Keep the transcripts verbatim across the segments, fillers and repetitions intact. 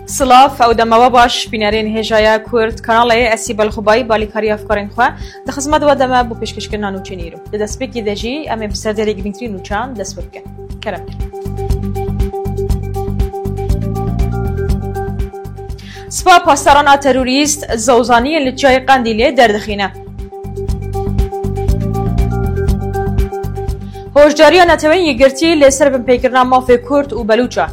Silav, ew dema we baş, bînerên hêjaya Kurd Kanalê, ez Sîbel Xubayî, balîkarî hevkarên xwe, di xizmet we de me bo pêşkêşkirina nûçeyên îro. Di destpêkê de jî em ê bi ser derê girîngtirîn nûçan dest pê bikin. Kerem. Spa Pasdaran a terorîst zozaniyên li Çiyayê Qendîlê derdixîne. Hoşdariya Netewên Yekgirtî li ser binpêkirina mafê Kurd û Belûçan.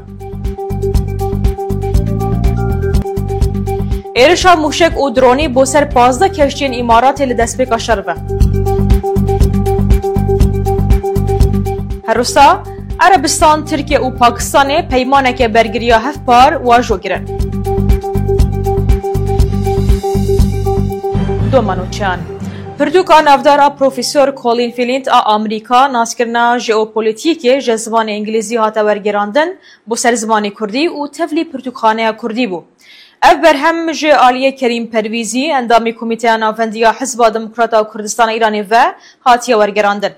Êrişa mûşek û dronî bo ser pazdeh keştiyên Îmaratê li destpêka şer ve. Her wisa, Erebistan, Tirkiye û Pakistanê peymaneke bergiriya hevpar wajo kirin. Doma nûçeyan. Pirtûka navdar a Profesor Colin Flint a Amerîka, naskirina jeopolîtîkê ji zimanê îngilîzî hate wergerandin bo ser zimanê kurdî û tevlî pirtûkxaneya kurdî bû. Ev berhem ji aliyê Kerîm Pervîzî, endamê Komîteya Navendî ya Hizba Demokrat a Kurdistana Îranê ve hatiye wergerandin.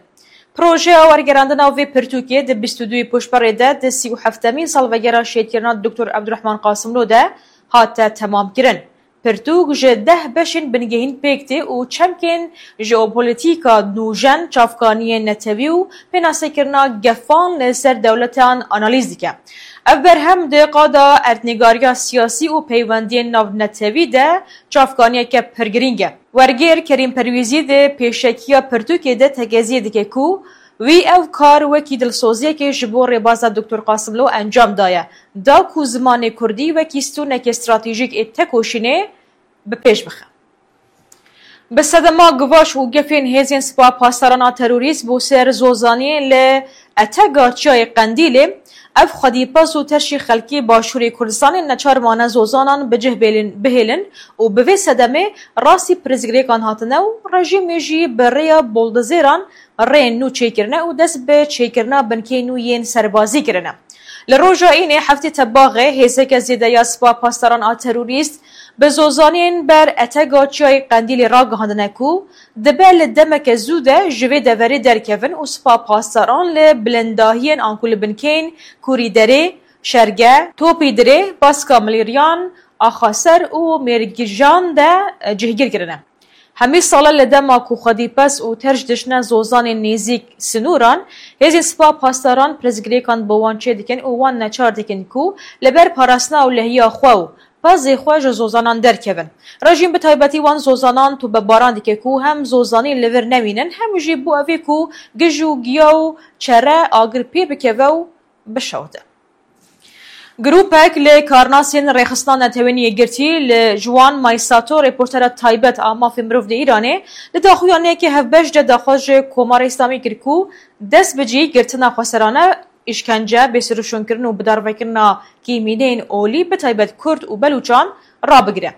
Projeya wergerandina vê pirtûkê di bîst û duyê Pûşberê de di sî û heftemîn salvegera şehîdkirina Doktor Ebdurehman Qasimlo de hate temamkirin. Pirtûk ji deh beşên bingehîn pêk tê û çemkên jeopolîtîka nûjen, çavkaniyên netewî û pênasekirina gefan li ser dewletan analîz dike. Ev berhem di qada erdnîgariya siyasî û peywendiyên navnetewî de çavkaniyeke pir girîng e. Wergêr Kerîm Perwîzî di pêşekiya pirtûkê de tekeziyê dike ku wî ev kar wekî dilsoziyekê ji bo rêbaza Doktor Qasimlo encam daye, da ku zimanê kurdî wekî stûnekê stratejîk ê tekoşînê bi pêş bixe. Bi sedema givaş û gefên hêzên Spa Pasdaran a terorîst bo ser zozaniyên li Etega Çiyayê Qendîlê, ev xwedîpez û terşî xelkê Başûrê Kurdistanê neçar mane zozanan bi cih bêlin-, bihêlin û bi vê sedemê rastî pirsgirêkan hatine û rejîmê jî bi rêya boldozêran rêyên nû çêkirine û dest bi çêkirina binkeyên nû yên serbazî kirine. Li roja Înê heftê Tebaxê hêzeke zêde ya Spa Pasdaran a terorîst bi zozaniyên ber Etega Çiyayê Qendîlê ragihandine ku dibe li demeke zû de ji vê deverê derkevin û Spa Pasdaran li bilindahiyên anku li binkeyên Kûrî Derê, Şerge, Topî Dirê, Baska Milîriyan, Axaser û Mêrgijan de, e, cihgîr kirine. Hemî sala li dema ku xwedîpez û terş dişine zozanên nêzîk sinûran, hêzên Spa Pasdaran pirsgirêkan bi wan çêdikin û wan neçar dikin ku li ber parastina ewlehiya xwe û pezê xwe ji zozanan derkevin. Rejîm bi taybetî wan zozanan tobebaran dike ku hem zozanî li vir nemînin, hem jî bo evê ku gij û giya û çere agir pê bikeve û bişewite. Grûpek li karnasên Rêxistina Netewên Yekgirtî li Juan Maysato, reportera taybet a mafê mirov di Îranê, di daxuyaniyeke hevbeş de daxwaz ji Komara Îslamî kir ku dest bi cî girtina xweserane, îşkence, bêsirûşûnkirin û bidarvekirina kêmîneyên olî, bi taybet Kurd û Belûçan, rabigire.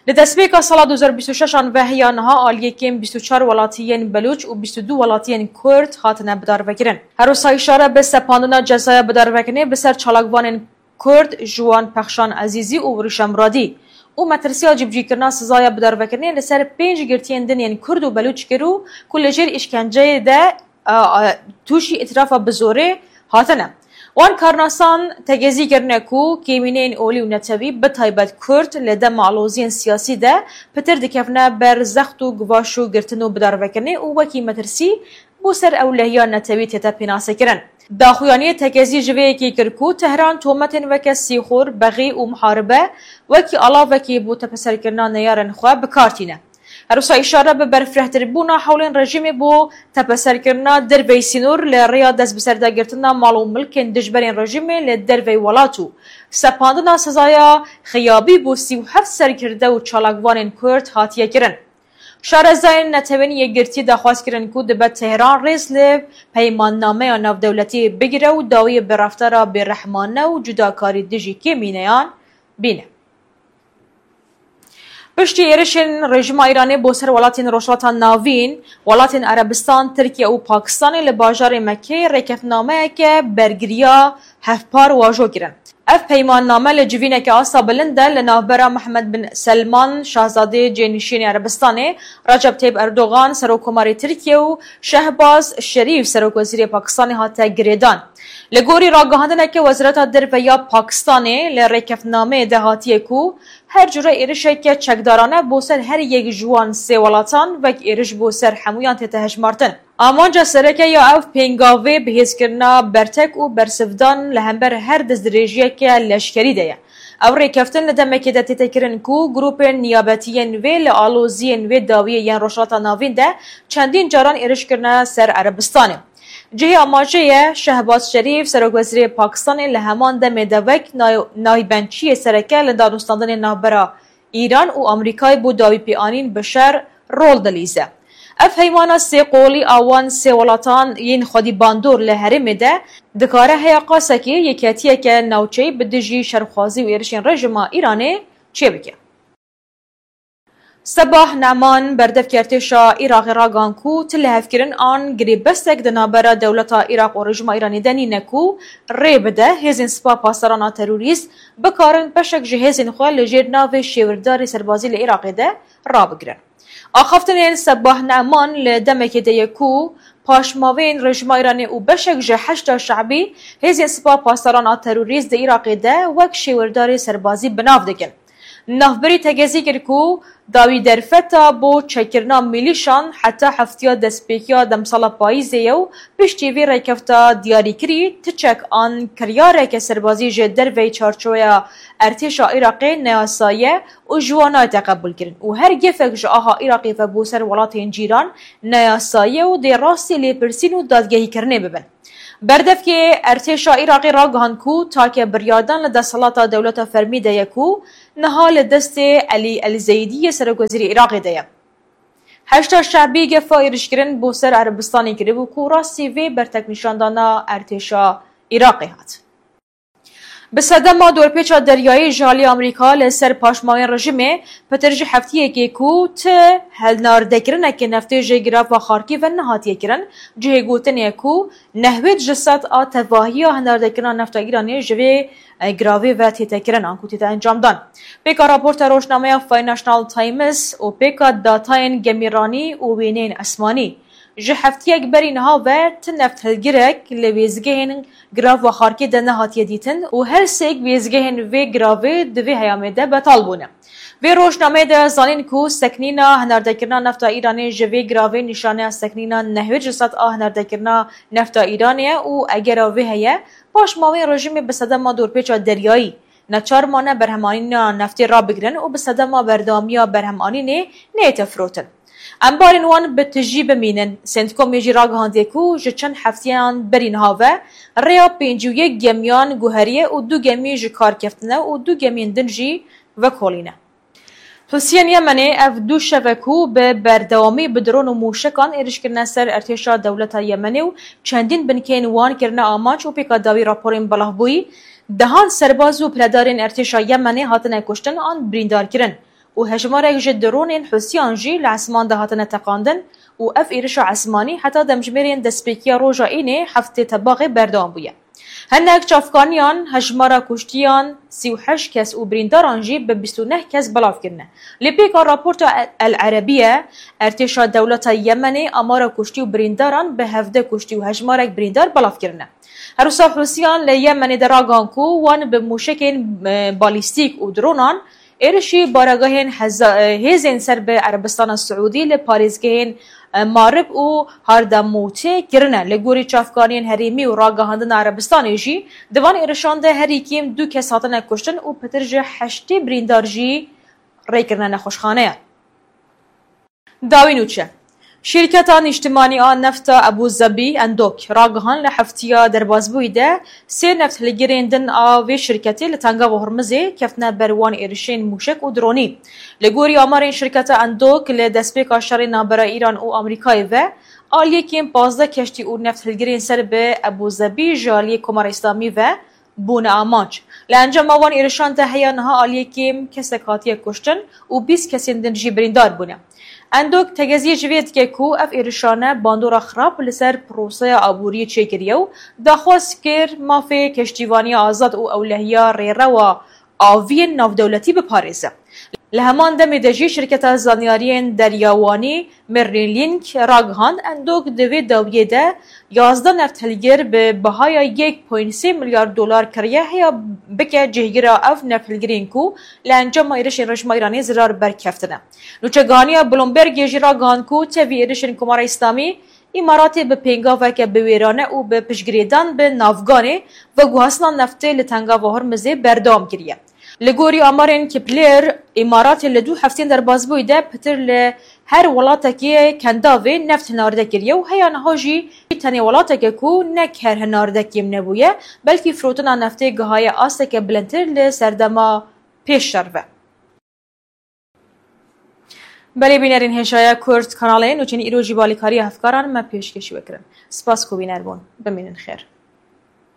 Li destpêka sala du hezar bîst û şeş an ve heya niha aliyê kêm bîst û çar welatiyên Belûç û bîst û du welatiyên Kurd hatine bidarvekirin. Her wisa îşare bi sepandina cezaya bidarvekirinê bi ser çalakvanên Kurd Juan Pexşan Ezîzî û Wirîşa Muradî û metirsiya cîbicîkirina sizaya bidarvekirinê li ser pênc girtiyên din yên Kurd û Belûç kir û ku li jêr îşkenceyê de, a, a, tûşî îtirafa bi zorê hatine. Wan karnasan tekezî kirine ku kêmîneyên olî û netewî, bi taybet Kurd, li dema aloziyên siyasî de pitir dikevine ber zext û givaş û girtin û bidarvekirinê û wekî metirsî bo ser ewlehiya netewî tête pênasekirin. Daxuyaniyê tekezî ji vê yekê kir ku Tehran tometên weke sîxur, bexî û muharibe wekî alavekê bo tepeserkirina neyarên xwe bi kar tîne. Her wisa îşare bi berfirehtirbûna hewlên rejîmê bo tepeserkirina derveyî sînor li rêya destbiserda girtina mal û milkên dijberên rejîmê li derveyî welat û sepandina sizaya xiyabî bo sî û heft serkirde û çalakvanên Kurd hatiye kirin. Şarezayên Netewên Yekgirtî daxwaz kirin ku dibe Tehran rêz li peymannameya navdewletî bigire û dawiyê bi reftara bêrehmane û cudakarî dijî kêmîneyan bîne. Piştî êrişên rejîma Îranê bo ser welatên Rojhilata Navîn, welatên Erebistan, Tirkiye û Pakistanê li bajarê Mekkeyê rêkeftinameyeke bergiriya hevpar wajo kirin. Ev peymanname li civîneke asta bilind de li navbera Mihemed bin Selman, şahzadê cênişînê Erebistanê, Recep Tayyip Erdogan, Serokkomarê Tirkiye û Şehbaz Şerîf, Serokwezîrê Pakistanê hate girêdan. Li gorî ragihandineke Wezareta Derve ya Pakistanê, li rêkeftinameyê de hatiye ku her cure êrişeke çekdarane bo ser her yek ji wan sê welatan wek êriş bo ser hemûyan tête hejmartin. Amanca sereke ya ev pêngavê bihêzkirina bertek û bersivdan li hember her destdirêjiyeke leşkerî de ye. Ev rêkeftin li demekê de tête kirin ku grûpên niyabetiyên wê li aloziyên wê dawiyê yên Rojhilata Navîn de çendîn caran êriş kirine ser Erebistanê. Cihê amajê ye, Şehbaz Şerîf, serokwezîrê Pakistanê li heman demê de wek nay-, naybençiyê sereke li danûstandinê navbera Îran û Amerîkayê bo dawî pêanîn bi şer rol dilîze. Ev heymana sê qolî a wan sê welatan yên xwedî bandor li herêmê de dikare heya qasekê yeketiyeke navçeyî bi dijî şerxwazî û êrişên rejîma Îranê çêbike. Sebah Neman, berdevkê artêşa Iraqê ragihand ku ti lihevkirin an girêbestek di navbera dewleta Iraq û rejîma Îranê de nîne ku rê bide hêzên Sipa Pasdaran a terorîst bikarin beşek ji hêzên xwe li jêr navê şêwirdarê serbazî li Iraqê de rabigirin. Axaftinên Sebah Neman li demekê de ye ku paşmavên rejîma Îranê û beşek ji Heşda Şe'bî hêzên Sipa Pasdaran a terorîst di Iraqê de wek şêwirdarê serbazî bi nav dikin. Navberî tegezî kir ku dawî derfeta bo çêkirina milîşan heta heftiya destpêkiya demsala payîzê ye û piştî vê rêkefta diyarîkirî ti çek an kiryareke serbazî ji derveyî çarçoweya artêşa Iraqê neyasayî ye û ji wan nayête qebûlkirin û her gefek ji aha Iraqê ve bo ser welatên cîran neyasayî ye û dê rastî lêpirsîn û dadgehîkirinê bibin. Berdevkê artêşa Iraqê ragihand ku take biryardan li desthilata dewleta fermî de ye ku niha li destê Elî El Zeydî yê serokwezîrê Iraqê de ye. Heşda Şe'bî gefa êrişkirin bo ser Erebistanê kiribû ku rastî vê berteknîşandana artêşa Iraqê hat. Bi sedema dorpêça deryayî ji alî Amerîka li ser paşmavên rejîmê, pitir ji heftiyekê ku ti hilnardekirineke neftê ji girava Xarkîv ve nehatiye kirin, cihê gotinê ye ku nehwêd ji sed a tevahiya hilnardekirina nefta Îranê ji vê, e, giravê ve tête kirin an ku tête encamdan. Pêka raporta rojnameya Financial Times û pêka datayên gemîranî û wêneyên esmanî, ji heftiyek berî niha ve ti nefthilgirek li wêzgehên girava Xarkê de nehatiye dîtin û her sêk wêzgehên vê giravê di vê heyamê de betal bûne. Vê rojnameyê de zanîn ku seknîna hinardekirina nefta Îranê ji vê giravê nîşaneya seknîna nehwêd ji sed a hinardekirina nefta Îranê ye û egera vê heye, paşmavên rejîmê bi sedema dorpêça deryayî neçar mane berhemanîna neftê rabigirin û bi sedema berdewamiya berhemanînê neyête firotin. Em barên wan bi tijî bimînin. Centcomê jî ragihandiye ku ji çend hefteyan berî niha ve rêya pêncî û yek gemiyan guheriye û du gemî ji kar keftine û du gemiyên din jî vekolîne. Husiyên Yemenê ev du şev e ku bi berdewamî bi dron û mûşekan êriş kirine ser artêşa dewleta Yemenê û çendîn binkeyên wan kirine amanc û pêka dawî raporên belavbûyî, dehan serbaz û piledarên artêşa Yemenê hatine kuştin an birîndar kirin û hejmarek ji dronên Husiyan jî li esman de hatine teqandin û ev êrişa esmanî heta demjimêrên destpêkiya roja Înê heftê Tebaxê berdewam bûye. Hinek çavkaniyan hejmara kuştiyan sî û heşt kes û birîndaran jî bi bîst û neh kes belav kirine. Lê pêka raporta El Erebiye, artêşa dewleta Yemenê amara kuştî û birîndaran bi hevdeh kuştî û hejmarek birîndar belav kirine. Her wisa Hûsiyan li Yemenê de ragihan ku wan bi mûşekên, e, balîstîk û dronan êrişî baregehên heza-, e, hêzên ser bi Erebistana Siûdî li parêzgehên, e, Marib û Hardamûtê kirine. Li gorî çavkaniyên herêmî û ragihandina Erebistanê jî, di van êrişan de herî kêm du kes hatine kuştin û pitir ji heştê birîndar jî rê kirine nexweşxaneyan. Dawî nûçe. Şîrketa Nîştimanî a Nefta Ebû Zebî, Endok, ragihand li heftiya derbasbûyî de sê nefthilgirên din a vê şîrketê li Tengava Hormizê keftine ber wan êrişên mûşek û dronî. Li gorî amarên şîrketa Endok, li destpêka şerê navbera Îran û Amerîkayê ve, aliyê kêm pazdeh keştî û nefthilgirên ser bi Ebû Zebî ji aliyê Komara Îslamî ve bûne amanc. Li encama wan êrişan de heya niha aliyê kêm kesek hatiye kuştin û bîst kesên din jî birîndar bûne. Endok tegeziyê ji vê dike ku ev êrişane bandora xirab li ser proseya aboriyê çêkiriye û daxwaz kir mafê keştîvaniya azad û ewlehiya rêrewa aviyên navdewletî biparêze. Li heman demê de jî şirketa zanyariyên deryawanî Merlin Link ragihand, Endok di vê dawiyê de yazdeh nefthilgir bi bihaya yek point sê milyar dolar kiriye heya bike cihgira ev nefthilgirên ku li encama êrişên rejîma Îranê zirar berkeftine. Nûçegihaniya Bloombergê jî ragihand ku tevî êrişên Komara Îslamî, Îmaratê bi pêngaveke biwêrane û bi piştgirêdan bi navganê veguhastina neftê li Tengava Hormizê berdewam kiriye. Li gorî amarên Kepler, Îmaratê li du heftên derbasbûyî de pitir li her welatekê kendavê neft hinarde kiriye û heya niha jî tenê welateke ku nek her hinarde kêm nebûye, belkî firotina neftê gihaye asteke bilindtir li serdema pêş şer ve. Belê bînerên hêşaya Kurd kanalê nûçeyên îro jî balîkariya hevkaran me pêşkêşî we kirin. Spas ku bîner bûn. Bimînin xêr.